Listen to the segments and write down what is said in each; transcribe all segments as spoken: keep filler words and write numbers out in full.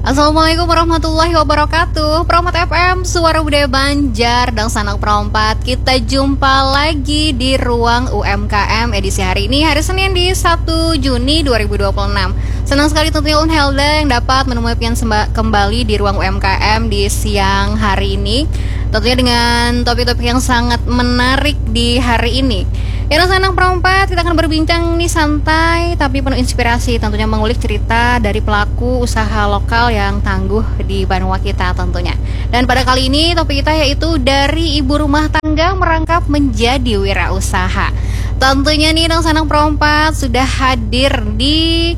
Assalamualaikum warahmatullahi wabarakatuh. Promat F M, Suara Budaya Banjar, dan sanak perompat. Kita jumpa lagi di ruang U M K M edisi hari ini, hari Senin di satu Juni dua ribu dua puluh enam. Senang sekali tentunya Ulun Helda yang dapat menemui pian semba- kembali di ruang U M K M di siang hari ini. Tentunya dengan topik-topik yang sangat menarik di hari ini. Ya, dan sanak perompat, kita akan berbincang nih santai tapi penuh inspirasi. Tentunya mengulik cerita dari pelaku usaha lokal yang tangguh di banua kita tentunya. Dan pada kali ini topik kita yaitu dari ibu rumah tangga merangkap menjadi wirausaha. Tentunya nih, dan sanak perompat sudah hadir di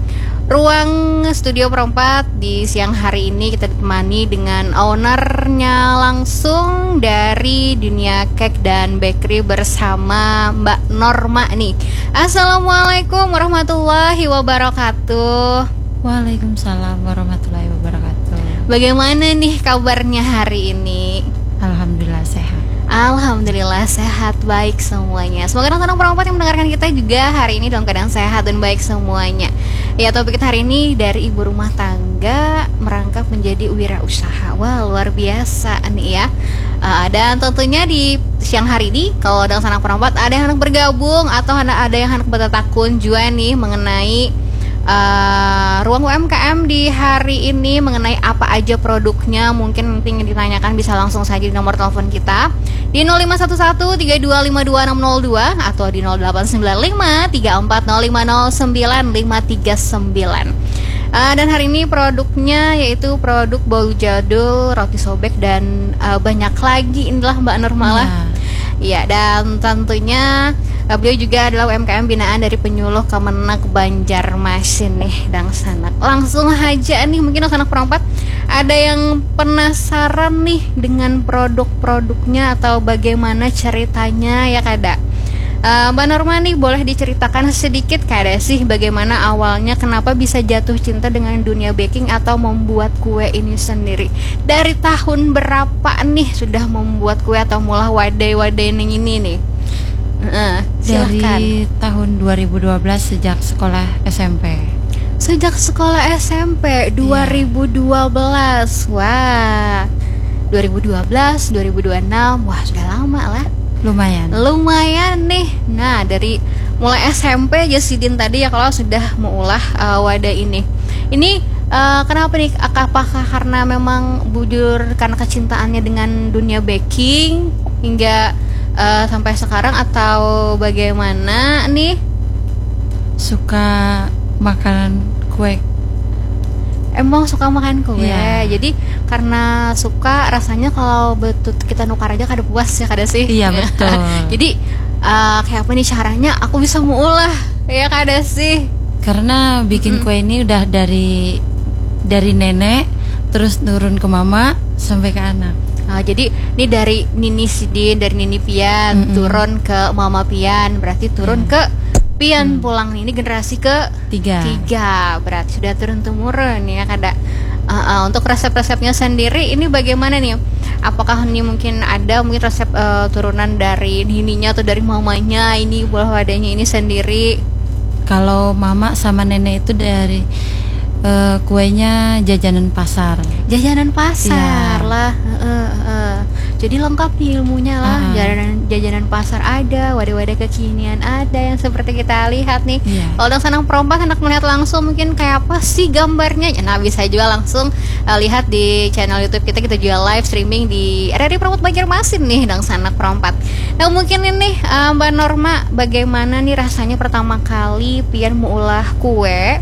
ruang studio perompat di siang hari ini. Kita ditemani dengan ownernya langsung dari dunia cake dan bakery bersama Mbak Norma nih. Assalamualaikum warahmatullahi wabarakatuh. Waalaikumsalam warahmatullahi wabarakatuh. Bagaimana nih kabarnya hari ini? Alhamdulillah sehat. Alhamdulillah sehat, baik semuanya. Semoga teman-teman perompat yang mendengarkan kita juga hari ini dalam keadaan sehat dan baik semuanya. Ya, topik kita hari ini dari ibu rumah tangga merangkap menjadi wirausaha. Wah, luar biasa nih ya. Uh, dan tentunya di siang hari ini, kalau ada sanak perompat, ada yang hendak bergabung atau ada yang hendak bertatakun juga nih mengenai uh, ruang U M K M di hari ini, mengenai apa aja produknya, mungkin nanti yang ditanyakan bisa langsung saja di nomor telepon kita di nol lima satu satu tiga dua lima dua enam nol dua atau di nol delapan sembilan lima tiga empat nol lima nol sembilan lima tiga sembilan. Uh, dan hari ini produknya yaitu produk bolu jadul, roti sobek, dan uh, banyak lagi, inilah Mbak Norma lah. Ya. Ya, dan tentunya uh, beliau juga adalah U M K M binaan dari Penyuluh Kemenag Banjarmasin nih, dangsanak. Langsung aja nih, mungkin dangsanak perompat ada yang penasaran nih dengan produk-produknya atau bagaimana ceritanya, ya kada? Uh, Mbak Norma nih, boleh diceritakan sedikit kada sih bagaimana awalnya, kenapa bisa jatuh cinta dengan dunia baking atau membuat kue ini sendiri? Dari tahun berapa nih sudah membuat kue atau mulah wadai-wadai nang ini nih? Uh, silahkan. Dari tahun dua ribu dua belas, sejak sekolah S M P. Sejak sekolah S M P, iya, dua ribu dua belas. Wah. Dua ribu dua belas, dua ribu dua puluh enam. Wah, sudah lama lah. Lumayan. Lumayan nih. Nah, dari mulai S M P aja sidin tadi ya kalau sudah meulah uh, wadah ini. Ini uh, kenapa nih? Apakah karena memang bujur karena kecintaannya dengan dunia baking hingga uh, sampai sekarang atau bagaimana nih? Suka makanan kue. Emang suka makan kue. Iya. Jadi karena suka, rasanya kalau betul kita nukar aja kada puas ya, kada sih? Iya, betul. Jadi uh, kayak apa nih caranya aku bisa meulah, ya kada sih? Karena bikin, mm-mm, kue ini udah dari dari nenek, terus turun ke mama sampai ke anak. Uh, jadi ini dari nini sidin, dari nini pian, mm-mm, turun ke mama pian, berarti turun, iya, ke pian, mm, pulang nih. Ini generasi ke tiga. Tiga, berarti sudah turun temurun ya kada. Uh, uh, untuk resep-resepnya sendiri ini bagaimana nih? Apakah ini mungkin ada mungkin resep uh, turunan dari nininya atau dari mamanya ini, buah wadahnya ini sendiri? Kalau mama sama nenek itu dari uh, kuenya jajanan pasar. Jajanan pasar, iya, lah. Uh, uh, uh. Jadi lengkap nih ilmunya lah. Ah. Jajanan, jajanan pasar ada, wadah-wadah kekinian ada yang seperti kita lihat nih. Iya. Kalau dangsanak perompat hendak melihat langsung mungkin kayak apa sih gambarnya? Nah, bisa juga langsung uh, lihat di channel YouTube kita, kita juga live streaming di R R I Perompat Banjarmasin nih, dangsanak perompat. Nah, mungkin ini uh, Mbak Norma, bagaimana nih rasanya pertama kali pian meulah kue?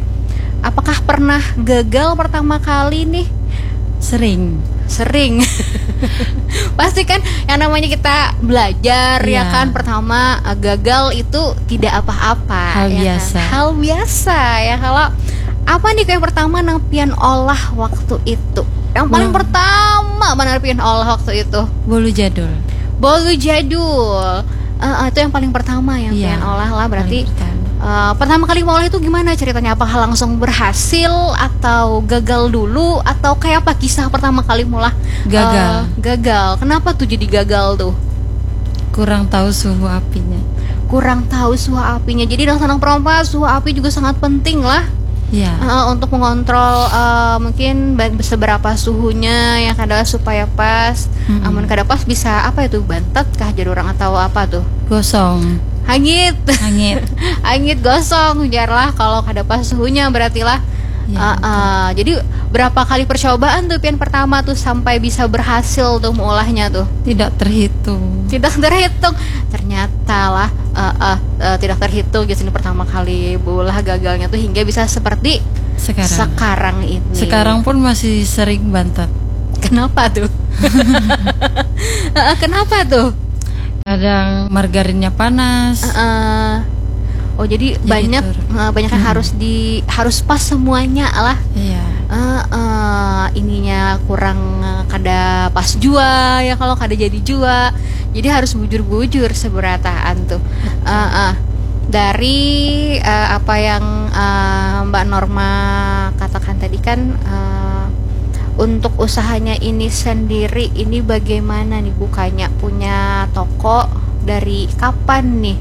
Apakah pernah gagal pertama kali nih? Sering. Sering. Pasti kan yang namanya kita belajar, iya, ya kan, pertama uh, gagal itu tidak apa-apa. Hal, ya, biasa kan? Hal biasa ya. Kalau apa nih kue pertama nang pian olah waktu itu? Yang paling, wah, pertama benar pian olah waktu itu? Bolu jadul. Bolu jadul. Uh, uh, itu yang paling pertama yang, iya, pian olah lah berarti. Paling pertama. Uh, pertama kali meulah itu gimana ceritanya? Apakah langsung berhasil atau gagal dulu atau kayak apa kisah pertama kali meulah? Gagal. Uh, gagal. Kenapa tuh jadi gagal tuh? Kurang tahu suhu apinya. Kurang tahu suhu apinya. Jadi dangsanak perompat, suhu api juga sangat penting lah. Ya. Heeh, untuk mengontrol eh, mungkin ba- seberapa suhunya yang kada supaya pas. Mm-mm. Amun kada pas bisa apa itu, bantet kah jar orang atau apa tuh? Gosong. Hangit. Hangit. Hangit gosong jar lah kalau kada pas suhunya berarti lah. Ya, Eh, eh, jadi berapa kali percobaan tuh pian pertama tuh sampai bisa berhasil tuh meulahnya tuh? Tidak terhitung. Tidak terhitung. Ternyata lah eh, eh, eh, tidak terhitung di sini pertama kali beulah gagalnya tuh hingga bisa seperti Sekarang. sekarang ini. Sekarang pun masih sering bantet. Kenapa tuh? Eh, eh, kenapa tuh? Kadang margarinnya panas. Eh, eh. Oh jadi, Jadi banyak tur- eh, banyak yang Mm-mm. harus di harus pas semuanya lah. Iya. Eh, eh, ininya kurang eh, kada pas jua ya kalau kada jadi jua. Jadi harus bujur-bujur seberataan tuh. Eh, eh. Dari eh, apa yang eh, Mbak Norma katakan tadi kan eh, untuk usahanya ini sendiri ini bagaimana nih bukanya, punya toko dari kapan nih?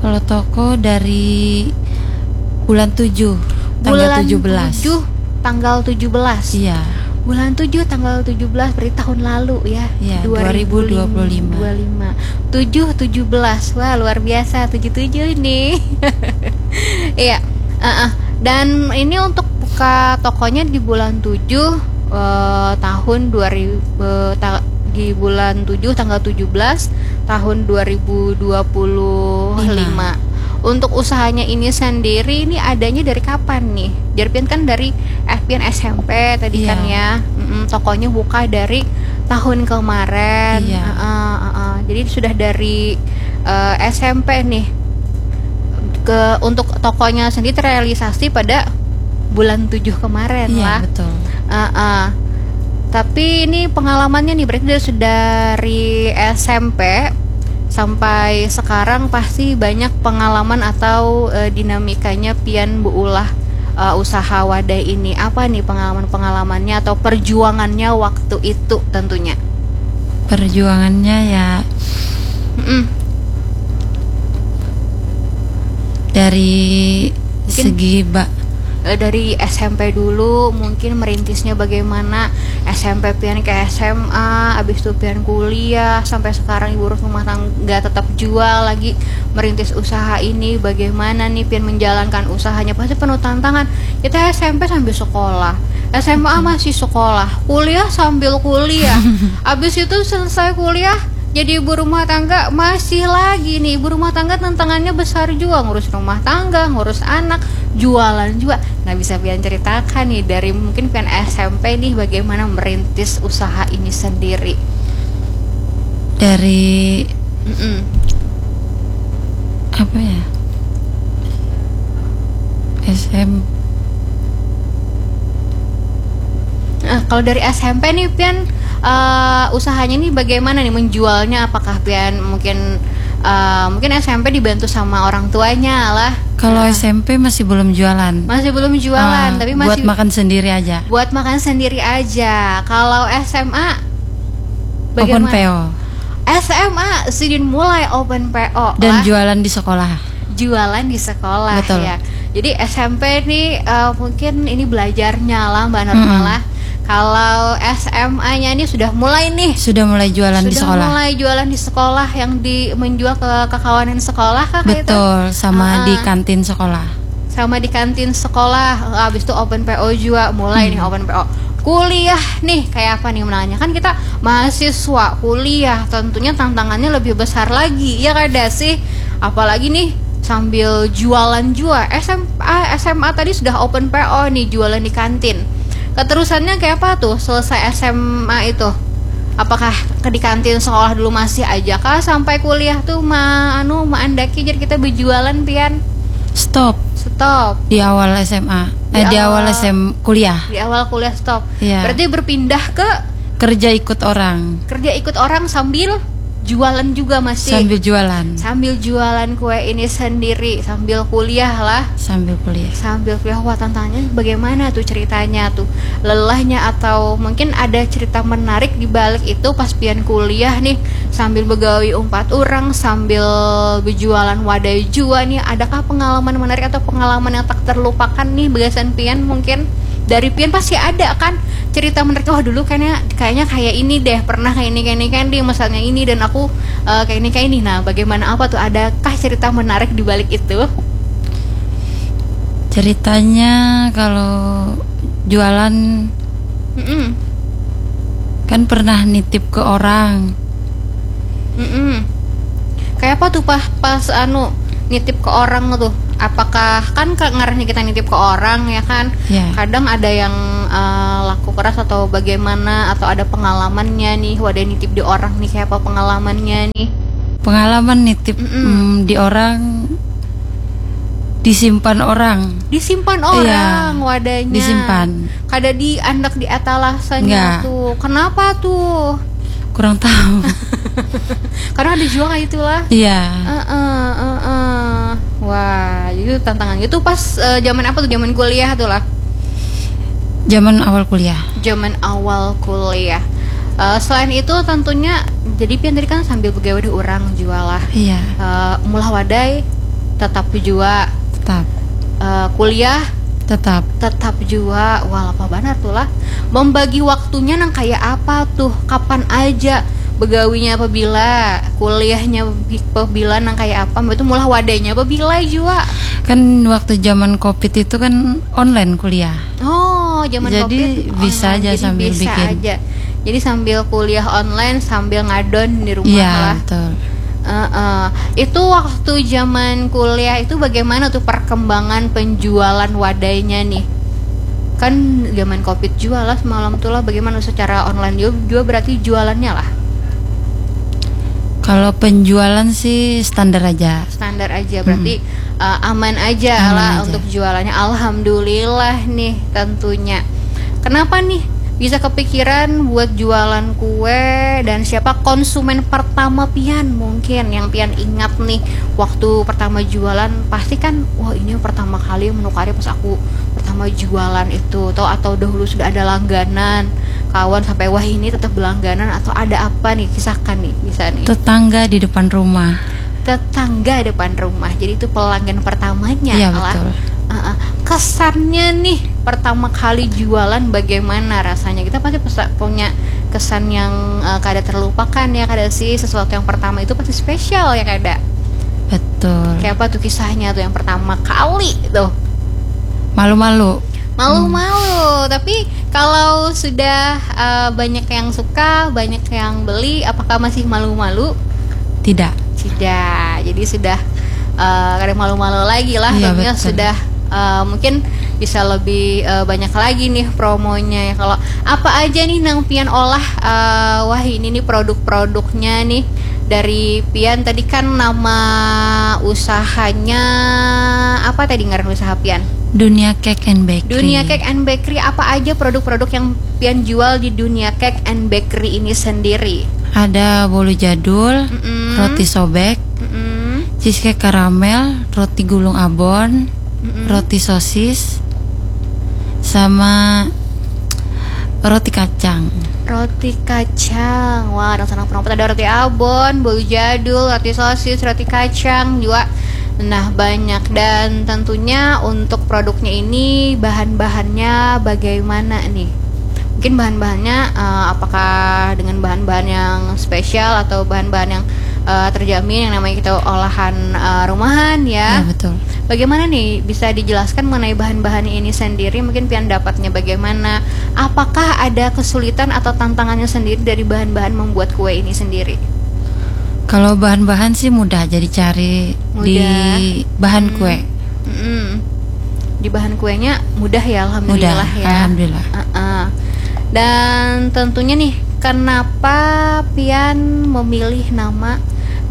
Kalau toko dari bulan tujuh, tanggal Bulan tujuh belas. tujuh, tanggal tujuh belas. Iya. Bulan tujuh tanggal tujuh belas berarti tahun lalu ya. Iya, Dua ribu lima. dua ribu dua puluh lima. Dua lima. Tujuh tujuh belas. Wah, luar biasa tujuh tujuh nih. Iya. Heeh. Dan ini untuk buka tokonya di bulan tujuh eh, tahun dua ribu eh, ta- di bulan tujuh tanggal tujuh belas tahun dua ribu dua puluh lima. Untuk usahanya ini sendiri ini adanya dari kapan nih? Jar pian kan dari eh, pian S M P tadi Iya. kan ya. Mm-mm, tokonya buka dari tahun kemarin. Iya. Heeh, heeh. Jadi sudah dari eh, S M P nih. Ke untuk tokonya sendiri terrealisasi pada bulan tujuh kemarin Iya, lah. Betul. Heeh. Tapi ini pengalamannya nih berarti dari, sudah dari S M P sampai sekarang pasti banyak pengalaman atau eh, dinamikanya pian beulah eh, usaha wadai ini. Apa nih pengalaman-pengalamannya atau perjuangannya waktu itu tentunya? Perjuangannya ya Mm-mm. dari Mungkin segi ba- Eh, dari S M P dulu mungkin merintisnya bagaimana, S M P pian ke S M A, abis itu pian kuliah, sampai sekarang ibu rumah tangga tetap jual lagi merintis usaha ini, bagaimana nih pian menjalankan usahanya, pasti penuh tantangan. Kita S M P sambil sekolah, S M A masih sekolah, kuliah sambil kuliah, abis itu selesai kuliah jadi ibu rumah tangga masih lagi nih, ibu rumah tangga tantangannya besar juga, ngurus rumah tangga, ngurus anak, jualan juga. Nah, bisa pian ceritakan nih dari mungkin pian S M P nih bagaimana merintis usaha ini sendiri? Dari Mm-mm. Apa ya? S M. Nah, kalau dari S M P nih pian uh, usahanya nih bagaimana nih menjualnya? Apakah pian mungkin uh, mungkin S M P dibantu sama orang tuanya lah? Kalau S M P masih belum jualan. Masih belum jualan, Ah, tapi buat masih makan sendiri aja. Buat makan sendiri aja. Kalau S M A Open bagaimana? P O. S M A sidin mulai open P O Dan lah. Jualan di sekolah. Jualan di sekolah Betul. Ya. Jadi S M P nih uh, mungkin ini belajarnya lah Mbak Norma Mm-mm. Lah. Kalau S M A-nya nih sudah mulai nih. Sudah mulai jualan Sudah di sekolah. Mulai jualan di sekolah yang di menjual ke kekawanan sekolah kah kayak itu? Betul, sama Ah, di ah. Kantin sekolah. Sama di kantin sekolah, habis itu open P O juga, mulai nih Hmm. Open P O. Kuliah nih kayak apa nih menanya, kan kita mahasiswa kuliah, tentunya tantangannya lebih besar lagi ya kada sih? Apalagi nih sambil jualan juga. S M A S M A tadi sudah open P O nih, jualan di kantin. Keterusannya kayak apa tuh selesai S M A itu? Apakah ke di kantin sekolah dulu masih aja kah sampai kuliah tuh ma anu maandaki jadi kita berjualan pian? Stop Stop. Di awal S M A. Di Eh, di awal. Awal S M kuliah. Di awal kuliah stop. Iya. Berarti berpindah ke Kerja ikut orang. Kerja ikut orang sambil jualan juga masih. Sambil jualan. Sambil jualan kue ini sendiri, sambil kuliah lah. Sambil kuliah. Sambil kuliah, wah, tantangannya bagaimana tuh ceritanya tuh? Lelahnya atau mungkin ada cerita menarik di balik itu pas pian kuliah nih, sambil begawi umpat orang, sambil berjualan wadai jua nih. Adakah pengalaman menarik atau pengalaman yang tak terlupakan nih bagasan pian? Mungkin dari pian pasti ada kan cerita menarik, oh, dulu kayaknya kayaknya kayak ini deh, pernah kayak ini kayak ini kan di masanya ini, dan aku eh, kayak ini kayak ini. Nah, bagaimana, apa tuh, adakah cerita menarik di balik itu? Ceritanya kalau jualan Mm-mm. Kan pernah nitip ke orang. Mm-mm. Kayak apa tuh, Pah, pas anu nitip ke orang tuh? Apakah kan ke, ngarannya kita nitip ke orang ya kan? Ya. Kadang ada yang eh, laku keras atau bagaimana, atau ada pengalamannya nih, wadah nitip di orang nih, kayak apa pengalamannya nih? Pengalaman nitip mm, di orang disimpan orang. Disimpan orang wadahnya. Disimpan. Kada diandak di atalasanya Enggak. Tuh. Kenapa tuh? Kurang tahu. Karena ada juga kayak itulah. Iya. Heeh, heeh. Wah, itu tantangan. Itu pas eh, zaman apa tuh? Zaman kuliah tuh lah. Zaman awal kuliah. Zaman awal kuliah. Eh, selain itu tentunya, jadi pian tadi kan sambil begawe di orang jua lah. Iya. Eh, mulah wadai tetap jua. Tetap. Eh, kuliah Tetap. tetap jua. Wah, lapah banar tuh lah. Membagi waktunya nang kayak apa tuh? Kapan aja? Begawinya apabila, kuliahnya bi- apabila, nang kayak apa? Itu mulah wadainya apabila jua? Kan waktu zaman covid itu kan online kuliah. Oh, zaman Jadi, covid bisa online. Aja Jadi sambil bisa bikin. Aja. Jadi sambil kuliah online, sambil ngadon di rumah Iya, lah. Betul. Uh, uh. Itu waktu zaman kuliah itu bagaimana tuh perkembangan penjualan wadainya nih? Kan zaman covid juga lah semalam tuh lah, bagaimana secara online juga, juga berarti jualannya lah? Kalau penjualan sih standar aja. Standar aja, berarti hmm. uh, aman aja aman lah aja. Untuk jualannya. Alhamdulillah nih tentunya. Kenapa nih bisa kepikiran buat jualan kue dan siapa konsumen pertama pian mungkin yang pian ingat nih waktu pertama jualan? Pasti kan, wah, ini pertama kali menukari pas aku pertama jualan itu, atau atau dahulu sudah ada langganan kawan sampai wah ini tetap berlangganan, atau ada apa nih, kisahkan nih bisa nih. Tetangga di depan rumah. Tetangga depan rumah, jadi itu pelanggan pertamanya. Iya, lah. Betul. Uh-uh. Kesannya nih pertama kali jualan bagaimana rasanya? Kita pasti punya kesan yang uh, kada terlupakan ya, kada sih, sesuatu yang pertama itu pasti spesial ya, kada? Betul. Kayak apa tuh kisahnya tuh yang pertama kali tuh? Malu-malu. Malu-malu. Hmm. Tapi kalau sudah uh, banyak yang suka, banyak yang beli, apakah masih malu-malu? Tidak. Tidak. Jadi sudah uh, kada malu-malu lagi lah. Iya, betul. Sudah uh, mungkin bisa lebih uh, banyak lagi nih promonya ya. Kalau apa aja nih nang pian olah uh, wah ini nih produk-produknya nih dari pian tadi kan nama usahanya apa tadi ngaran usaha pian? Dunia Cake and Bakery. Dunia Cake and Bakery, apa aja produk-produk yang pian jual di Dunia Cake and Bakery ini sendiri? Ada bolu jadul, mm-mm. Roti sobek, mm-mm. Cheesecake karamel, roti gulung abon, mm-mm. Roti sosis, sama roti kacang. Roti kacang. Wah, ada sanang perompat, ada roti abon, bolu jadul, roti sosis, roti kacang juga. Nah, banyak. Dan tentunya untuk produknya ini bahan-bahannya bagaimana nih? Mungkin bahan-bahannya uh, apakah dengan bahan-bahan yang spesial atau bahan-bahan yang uh, terjamin yang namanya kita olahan uh, rumahan ya? Ya, betul. Bagaimana nih bisa dijelaskan mengenai bahan-bahan ini sendiri? Mungkin pian dapatnya bagaimana? Apakah ada kesulitan atau tantangannya sendiri dari bahan-bahan membuat kue ini sendiri? Kalau bahan-bahan sih mudah aja dicari mudah. Di bahan hmm. Kue. Mm-mm. Di bahan kuenya mudah ya, alhamdulillah mudah, ya. Alhamdulillah. Uh-uh. Dan tentunya nih, kenapa pian memilih nama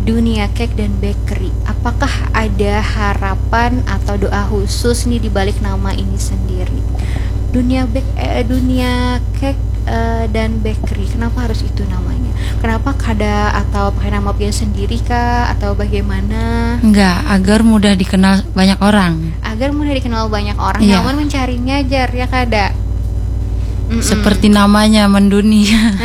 Dunia Cake dan Bakery? Apakah ada harapan atau doa khusus nih di balik nama ini sendiri? Dunia bake, eh, dunia cake, eh, dan bakery. Kenapa harus itu namanya? Kenapa kada atau pakai nama pian sendiri kah atau bagaimana? Enggak, agar mudah dikenal banyak orang. Agar mudah dikenal banyak orang. Iya. Nyaman mencarinya, jar, ya kada? Mm-mm. Seperti namanya, mendunia.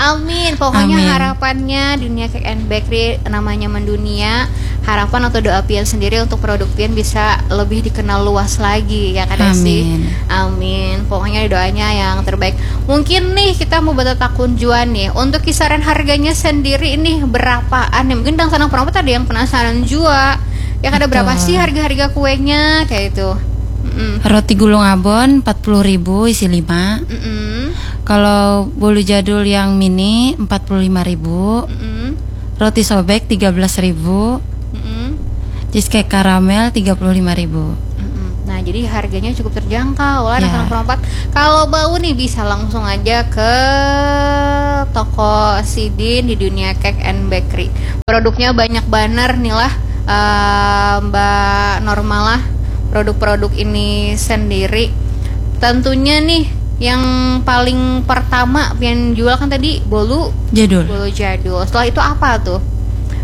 Amin. Pokoknya amin. Harapannya dunia cake and bakery namanya mendunia. Harapan atau doa pian sendiri untuk produk pian bisa lebih dikenal luas lagi, ya kada sih? Amin. Amin. Pokoknya doanya yang terbaik. Mungkin nih kita mau bertatakun jua nih. Untuk kisaran harganya sendiri nih berapaan nih? Mungkin dangsanak perampat ada yang penasaran jua. Ya kada? Betul. Berapa sih harga-harga kuenya kayak itu? Mm-mm. Roti gulung abon empat puluh ribu isi lima. Mm-mm. Kalau bolu jadul yang mini empat puluh lima ribu. Mm-mm. Roti sobek tiga belas ribu. Mm-mm. Cheesecake karamel tiga puluh lima ribu. Mm-mm. Nah, jadi harganya cukup terjangkau lah, ya, dangsanak perampat. Kalau bau nih bisa langsung aja ke toko sidin di Dunia Cake and Bakery. Produknya banyak banar nih lah, eh, Mbak Norma lah, produk-produk ini sendiri. Tentunya nih yang paling pertama pian jual kan tadi bolu jadul. Bolu jadul. Setelah itu apa tuh?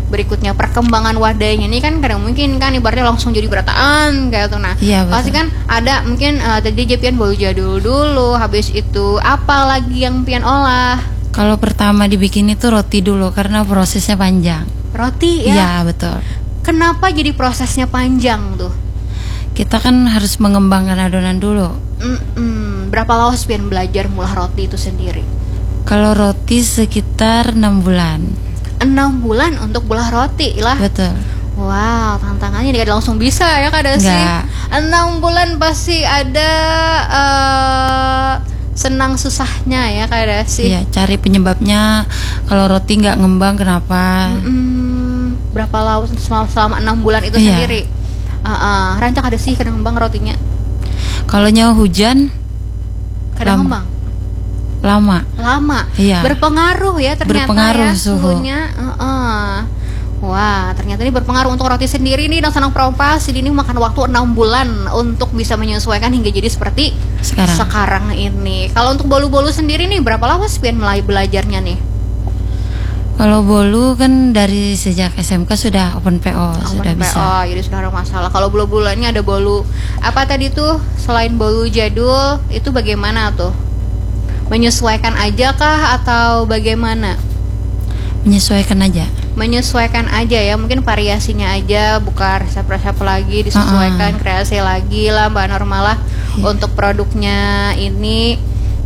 Berikutnya perkembangan wadahnya nih kan kadang mungkin kan ibaratnya langsung jadi berataan kayak tuh. Nah, iya, betul. Pasti kan ada mungkin, eh, tadi aja pian bolu jadul dulu, habis itu apa lagi yang pian olah? Kalau pertama dibikin itu roti dulu karena prosesnya panjang. Roti ya? Iya, betul. Kenapa jadi prosesnya panjang tuh? Kita kan harus mengembangkan adonan dulu. Mm-mm. Berapa lawas pian belajar mulah roti itu sendiri? Kalau roti sekitar enam bulan. Enam bulan untuk mulah roti lah. Betul. Wow, tantangannya tidak langsung bisa ya, kada sih? Enggak. Enam bulan pasti ada, eh, senang susahnya ya, kada sih? Iya, cari penyebabnya. Kalau roti nggak ngembang kenapa? Mm-mm. Berapa lawas selama, selama enam bulan itu sendiri? Iya. Heeh. Rancak ada sih kada ngembang rotinya. Kalau nyawa hujan, kada ngembang. Lama. Lama. Iya. Berpengaruh ya ternyata. Berpengaruh ya, suhu. Suhunya. Heeh. Wah, ternyata ini berpengaruh. Untuk roti sendiri nih, dangsanak perampat, sidin ini makan waktu enam bulan untuk bisa menyesuaikan hingga jadi seperti sekarang. Sekarang ini. Kalau untuk bolu-bolu sendiri nih, berapa lawas pian mulai belajarnya nih? Kalau bolu kan dari sejak S M K sudah open P O, open sudah P O, bisa. Jadi sudah ada masalah. Kalau bolu-bolu lainnya ada bolu apa tadi tuh? Selain bolu jadul, itu bagaimana tuh? Menyesuaikan aja kah atau bagaimana? Menyesuaikan aja. Menyesuaikan aja ya, mungkin variasinya aja, buka resep-resep lagi, disesuaikan, heeh, kreasi lagi lah, Mbak Norma lah, iya, untuk produknya ini.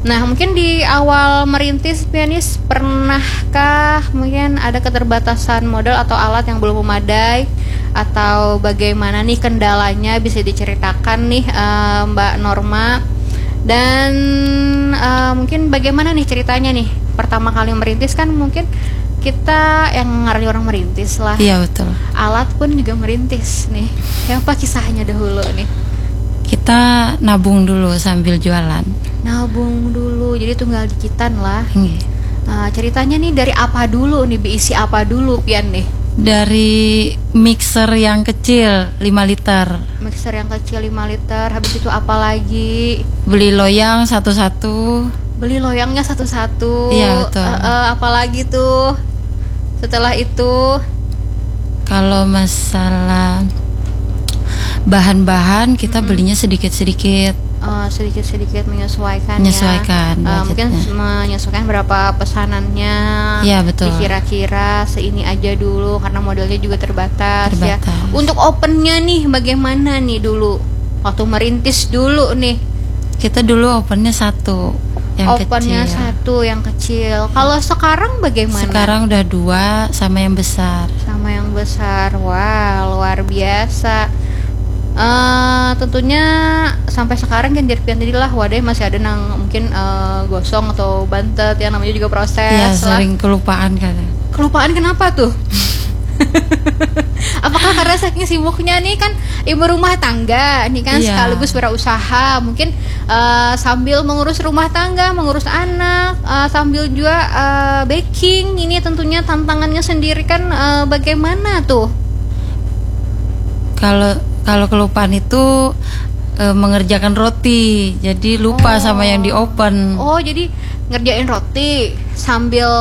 Nah, mungkin di awal merintis, pian nih pernahkah mungkin ada keterbatasan modal atau alat yang belum memadai atau bagaimana nih kendalanya, bisa diceritakan nih, eh, Mbak Norma? Dan, eh, mungkin bagaimana nih ceritanya nih? Pertama kali merintis kan mungkin kita yang ngarannya orang merintis lah. Iya, betul. Alat pun juga merintis nih. Ya, apa kisahnya dahulu nih? Kita nabung dulu sambil jualan. Nabung dulu, jadi tunggal dikitan lah. Nggih. Eh, ceritanya nih dari apa dulu nih, beisi apa dulu pian nih? Dari mixer yang kecil lima liter. Mixer yang kecil lima liter, habis itu apa lagi? Beli loyang satu-satu. Beli loyangnya satu-satu. Iya, betul. Eh, eh, apa lagi tuh? Setelah itu? Kalau masalah bahan-bahan, kita, mm-mm, belinya sedikit-sedikit. Eh, sedikit-sedikit menyesuaikan ya. Menyesuaikan, eh, mungkin budgetnya. Menyesuaikan berapa pesanannya. Iya, betul. Dikira-kira seini aja dulu karena modalnya juga terbatas, ya. Terbatas. Untuk opennya nih bagaimana nih dulu? Waktu merintis dulu nih. Kita dulu opennya satu, yang kecil. Opennya satu, yang kecil. Kalau sekarang bagaimana? Sekarang udah dua sama yang besar. Sama yang besar. Wah, luar biasa. Eh, tentunya sampai sekarang kan jar pian tadi lah, wadah masih ada nang mungkin, eh, gosong atau bantet, yang namanya juga proses. Iya, lah. Sering kelupaan kadang. Kelupaan kenapa tuh? Apakah karena saking sibuknya nih kan ibu rumah tangga nih kan, iya, sekaligus berusaha, mungkin, eh, sambil mengurus rumah tangga, mengurus anak, eh, sambil juga, eh, baking, ini tentunya tantangannya sendiri kan, eh, bagaimana tuh? Kalau, kalau kelupaan itu eh, mengerjakan roti, jadi lupa sama yang di oven. Oh, jadi ngerjain roti sambil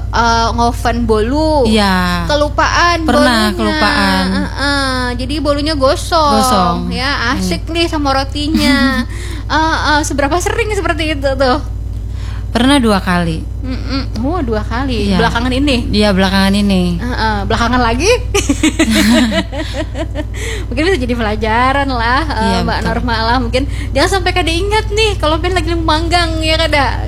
eh, ngoven bolu. Iya. Kelupaan Pernah, bolunya. kelupaan. Heeh, jadi bolunya gosong. Gosong. Ya, asik nih sama rotinya. Eh, eh, seberapa sering seperti itu tuh? Pernah dua kali. Mm-mm. Oh, dua kali. Iya. Belakangan ini. Iya, belakangan ini. Heeh, belakangan lagi. Mungkin bisa jadi pelajaran lah, eh, Iya, Mbak betul. Norma lah. Mungkin jangan sampai kada ingat nih kalau pian lagi manggang, ya kada.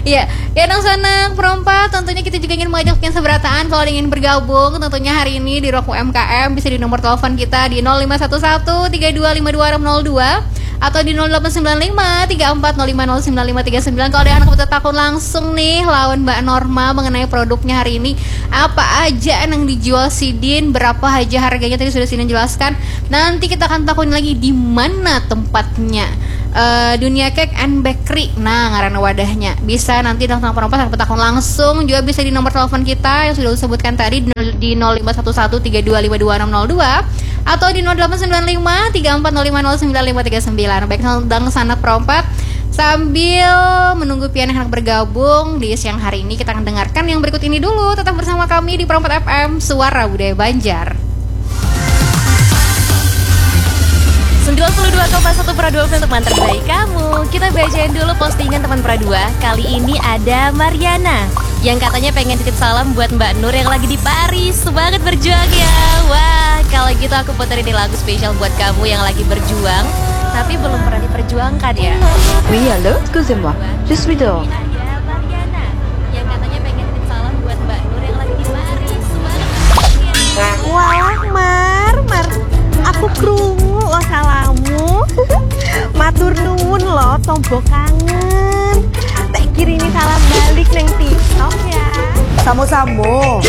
Iya, ya nang sanak perompat, tentunya kita juga ingin mengajak pian seberataan kalau ingin bergabung, tentunya hari ini di Ruang U M K M bisa di nomor telepon kita di nol lima satu satu tiga dua lima dua enam nol dua atau di nol delapan sembilan lima tiga empat nol lima nol sembilan lima tiga sembilan. Kalau ada anak kita takun langsung nih lawan Mbak Norma mengenai produknya hari ini, apa aja yang dijual sidin, berapa aja harganya, tadi sudah sidin jelaskan. Nanti kita akan takun lagi di mana tempatnya. Eh, Dunia Cake and Bakery, nah, ngaran wadahnya. Bisa nanti datang perompat sampai takun langsung, juga bisa di nomor telepon kita yang sudah disebutkan tadi di nol- di nol lima satu satu tiga dua lima dua enam nol dua atau di nol delapan sembilan lima tiga empat nol lima nol sembilan lima tiga sembilan. Baik, sedang sanak perompat, sambil menunggu pian yang hendak bergabung di siang hari ini, kita akan dengarkan yang berikut ini dulu. Tetap bersama kami di Perompat F M, Suara Budaya Banjar. Sembilan puluh dua koma satu Pro dua untuk teman terbaik kamu. Kita bacain dulu postingan teman Pro dua. Kali ini ada Mariana yang katanya pengen titip salam buat Mbak Nur yang lagi di Paris. Semangat berjuang ya. Wah, kalau gitu aku puterin nih lagu spesial buat kamu yang lagi berjuang tapi belum pernah diperjuangkan ya. Oui, allô, excusez-moi, je suis dehors. Ada Mariana yang katanya pengen titip salam buat Mbak Nur yang lagi di Paris. Semangat. Walah, Mar, Mar, aku krungu lo salammu. Matur nuwun lo, tombo kangen. Tak kirimi salam balik neng TikTok ya. Samo-samo.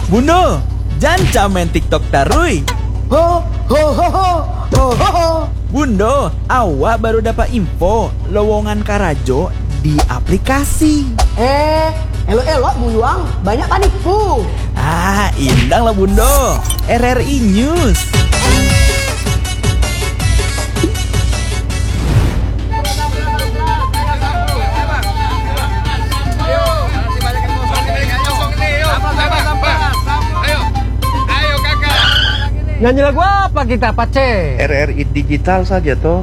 Bundo, janca main TikTok tarui. Ho ho ho ho ho ho ho. Bundo, awak baru dapat info lowongan karajo di aplikasi. Eh, elok-elok buyuang, banyak panipu. Ah, indang lah Bundo. R R I News. Nyanyi lagu apa kita, Pace? R R I digital saja toh.